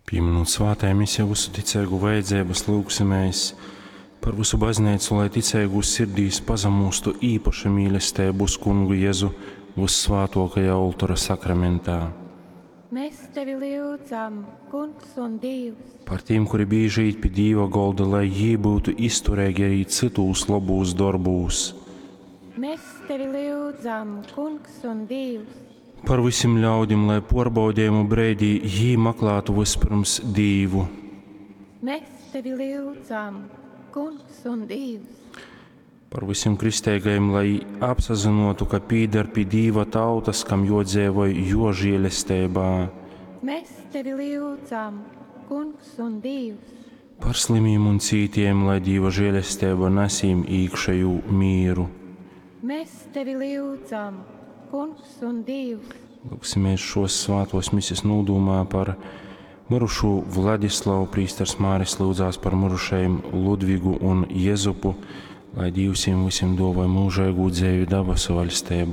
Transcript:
Pīminūt svātajā misē vysu ticeigu vajadzeibys, lyugsimēs par vysu Bazneicu, lai ticeigūs sirdīs pasamūstu īpaša mīlesteiba uz Kungu Jezu vyssvātuokajā oltora sakramentā. Mēs tevi lyudzam, Kungs un Dīvs. Par tīm, kuri bīži īt pi Dīva golda, lai jī byutu iztureigi arī cytūs lobūs dorbūs. Mēs tevi lyudzam, Kungs un Dīvs. Par vysim ļaudim, lai puorbaudejumu breidī jī maklātu vyspyrms Dīvu. Mēs tevi lyudzam, Kungs un Dīvs. Par vysim kristeigajim, lai apsazynuotu, ka pīdar pi Dīva tautys, kam juodzeivoj Juo žielesteibā. Mēs tevi lyudzam, Kungs un Dīvs. Par slimīm un cītiejim, lai Dīva žielesteiba nas jīm īkšejū mīru. Mēs tevi lyudzam, Kungs un Dīvs. Lūgsimies šos svātos misis nūdūmā par myrušū Vladislavu. Prīsters Māris lyudzās par myrušajim Ludvigu un Jezupu, lai Dīvs jim vysim duovoj myužeigū dzeivi dabasu vaļsteibā.